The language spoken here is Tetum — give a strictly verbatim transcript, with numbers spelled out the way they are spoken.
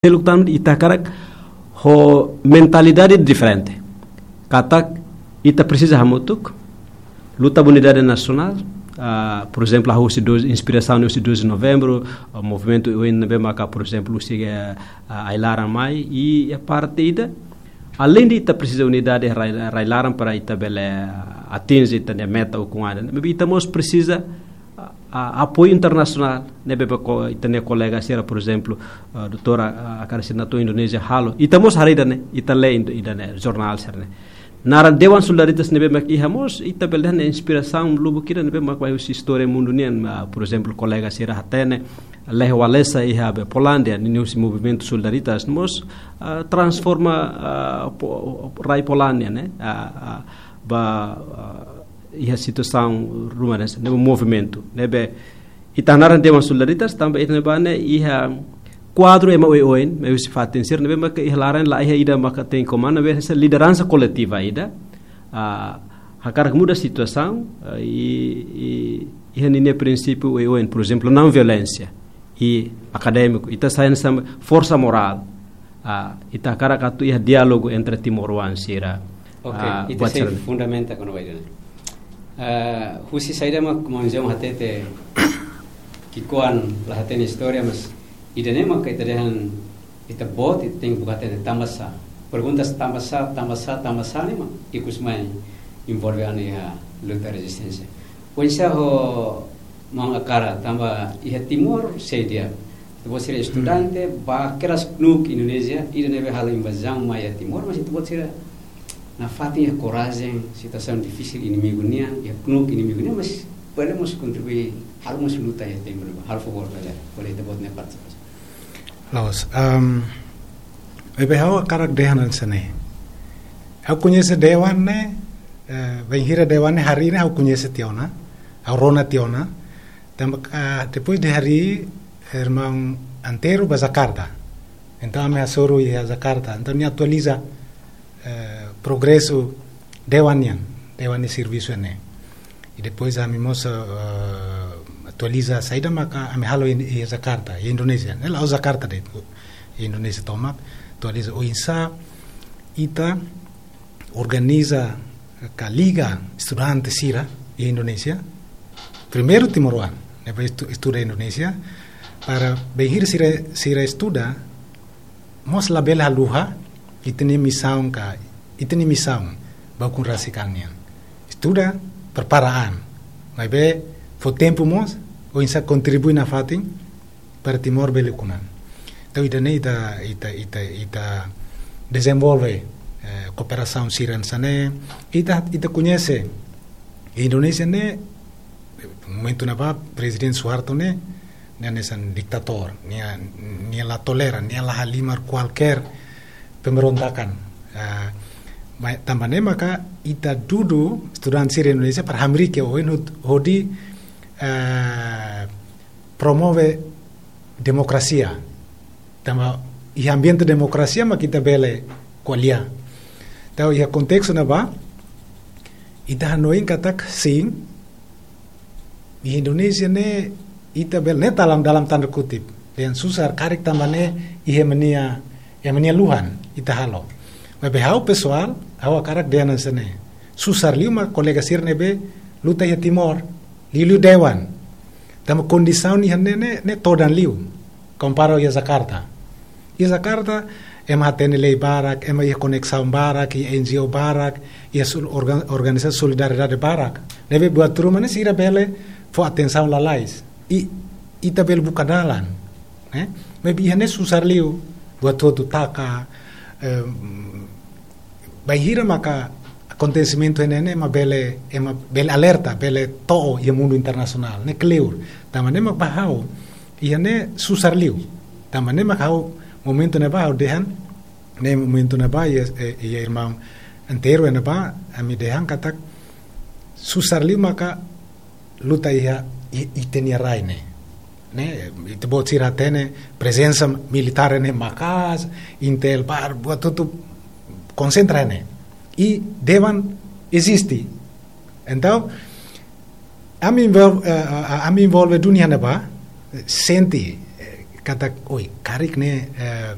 Seluk tan ita hakarak ho mentalidade diferente. Katak ita presiza hamutuk, luta ba unidade nasionál, ah, por ezemplu, hahú husi doze, inspirasaun husi doze de novembru, ah, movimentu oioin ne'ebé maka, por ezemplu, husi, eh, ah, ai-laran mai, i, i parte ida, além de ita presiza unidade rai, rai-laran para ita bele, ah, atinje ita-nia meta ukun-an, maibé ita mós presiza, ah, ah, apoiu internasionál, ne'ebé ko-, ita-nia kolega sira, por ezemplu, ah, doutora, ah, Akara Sirinato Indonézia halo. Ita mós haree ida-ne'e, ita lee indo-, ida-ne'e, jornál sira-ne'e. Naran Dewan Solidaritas ne'ebé mak iha mós, ita bele dehan inspirasaun lubuk ida ne'ebé mak mai husi istória mundu nian, ah, por ezemplu, kolega sira hatene, Lech Walesa iha be Polándia, ninia husi movimentu Solidaritas, mós, ah, transforma, ah, po-, rai Polándia, ne'e? Ah, ah, ba, ah, iha situasaun ruma ne'e, ne'e movimentu, ne'ebé ita naran Dewan Solidaritas, tanba ita ne'ebá ne'e iha kuadru ema oioin, mai husi fatin sira, ne'ebé maka iha laran la iha ida maka tenke komanda, ne'ebé hanesan lideransa koletiva ida, ah, hakarak muda situasaun, ah, i, i, iha ninia prinsípiu oioin, por ezemplu, não violénsia, i akadémiku, ita sai hanesan forsa morál, ah, ita hakarak atu iha diálogu entre timoroan sira. Ok, ah, ita buat sei sira-ne'e fundamenta kona-ba ida-ne'e. Ah, husi saida mak maun João hatete ki'ikoan la hatene istória, mas ida-ne'e maka ita dehan ita-boot, ita tenke buka hatene tanbasá. Perguntas tanbasá, tanbasá, tanbasá ne'e mak ikus mai envolve ami iha luta rezisténsia. Oinsá ho maun Akara, tanba iha Timor sei di'ak. Ita-boot sira estudante, ba kedas knuk Indonézia, ida ne'ebé halo invazaun mai iha Timor, mas ita-boot sira nafatin iha korajen, situasaun difisil inimigu nian, iha knuk inimigu nian, mas bele mós kontribui, halo mós luta iha Timor, halo favór bele, bele ita-boot nia partisipasaun. Loos, ehm, ne'ebé ha'u hakarak dehan hanesan ne'e. Ha'u koñese Dewan ne'e, eh, bainhira Dewan ne'e harii ne'e ha'u koñese tiha ona, ha'u rona tiha ona. Tanba, ah, depois de harii, irmaun Antero ba Jakarta. Entaun, ami hasoru iha Jakarta. Entaun, nia atualiza, eh, progresu Dewan nian, Dewan nia servisu ne'e. I depois ami mós, eh, atualiza saida maka ami halo iha, iha Jakarta, iha Indonézia. Ne'e la'ós Jakarta de'it, iha Indonézia tomak, atualiza oinsá ita organiza ka liga estudante sira iha Indonézia. Primeiru timoroan, ne'ebé estu-, estuda Indonézia, para bainhira sira, sira estuda, mós labele haluha ita-nia misaun ka, ita-nia misaun ba ukun rasik an nian. Estuda, prepara an. Maibé fó tempu mós, oinsá kontribui nafatin para Timor bele ukun an. Entaun, ida-ne'e ita, ita, ita, ita dezenvolve, eh, kooperasaun sira hanesan ne'e, ita, ita koñese Indonézia ne'e, momentu ne'ebá, Prezidente Suharto ne'e, nia hanesan ditadór, nia, nia la tolera, nia la halimar kualkér pemberontakan. Ah, ma-, tanba ne'e maka ita dudu estudante sira Indonézia para hamriik iha oin hod-, hodi, eh, promove demokrasia. Tanba iha ambiente demokrasia mak ita bele ko'alia. Entaun, iha kontestu ne'ebá, ita hanoin katak sin, iha Indonézia ne'e ita bele, ne'e dalam, dalam tanda kutip, dehan susar karik tanba ne'e iha ema nia, iha ema nia luhan ita halo. Maibé ha'u pesoál, ha'u hakarak dehan hanesan ne'e. Susar liu mak kolega sira ne'ebé luta iha Timor, liuliu Dewan. Tanba kondisaun iha ne'e, ne'e, ne'e todan liu. Kompara iha Jakarta. Iha Jakarta, ema hatene lei barak, ema iha koneksaun barak, iha N G O barak, iha sul-, organ-, organizasaun solidariedade barak. Ne'ebé buat ruma ne'e sira bele fó atensaun lalais. I, ita bele buka dalan. Eh? Maibé iha ne'e susar liu, buat hotu taka, em, bainhira maka akontesimentu ne'e, ne'e ema bele, ema bele alerta, bele to'o iha mundu internasionál, ne'e kleur. Tanba ne'e mak ba ha'u, iha ne'e susar liu. Tanba ne'e mak ha'u momentu ne'ebá ha'u dehan, ne'e momentu ne'ebá iha, eh, iha irmaun Antero ne'ebá, ami dehan katak susar liu maka luta iha, i-, ita-nia rai ne'e. Ne'e, ita-boot sira hatene prezensa militár ne'e maka'as, Intel barak, buat hotu konsentra ne'e. I Dewan eziste. Entaun, ami envol-, eh, eh, ami envolve duni iha ne'ebá, sente, eh, katak, oi, karik ne'e, eh,